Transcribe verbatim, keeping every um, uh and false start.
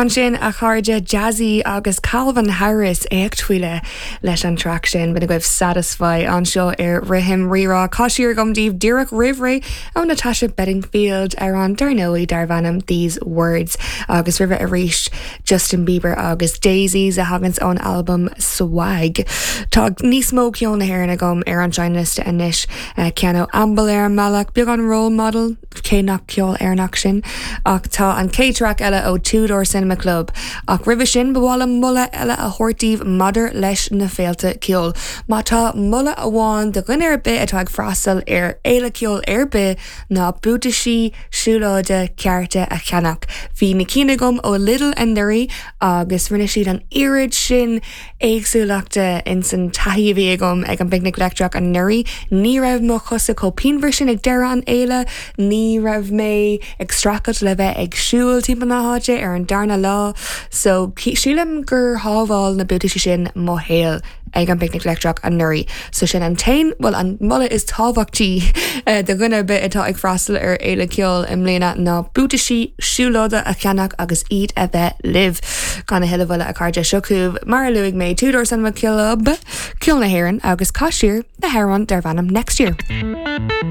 Ansin a chairde Jazzy agus Calvin Harris éacht faoi leith leis an track sin b'in agaibh Satisfy anseo ar Rithim Rírá Caith Siar agam daoibh díreach roimh ré ó Natasha Bedingfield ar an dar ndóigh darb ainm These Words agus roimhe arís Justin Bieber agus Daisies a thaganns ón album Swag. Tá níos mó ceol na hÉireann agam ar an seinnliosta anois uh, ceann ó Amble ar an mbealach beagán Role Model cé nach ceol Éireannach sin ach tá an chéad track eile ó Two Door Cinema Club ach roimhe sin ba mhaith liom moladh eile a thabhairt daoibh maidir leis na féilte ceoil. Má tá moladh amháin do dhuine ar bith atá ag freastal ar fhéile ceoil ar bith ná buataisí siúlóide cearta a cheannach. Bhí na cinn agam ó Lidl anuraidh agus rinne siad an oiread sin éagsúlachta in san taithí a bhí agam ag an bPicnic Leictreach anuraidh, ní raibh mo chosa chomh pianmhar sin ag deireadh an fhéile, ní raibh mé ag streachailt le bheith ag siúl timpeall na háite ar an darna lá, so sílim gur shábháil na buataisí sin mo shaol ag an bPicnic Leictreach anuraidh. So sin an t-aon bhuel an moladh is tábhachtaí eh, do dhuine ar bith atá ag freastal ar fhéile ceoil i mbliana ná buataisí siúlóide a cheannach agus iad a bheith libh. Gan a thuilleadh moille a chairde seo chugaibh mar a luaigh mé Two Door Cinema Club ceol na hÉireann agus Caith Siar le hamhrán darb ainm next year.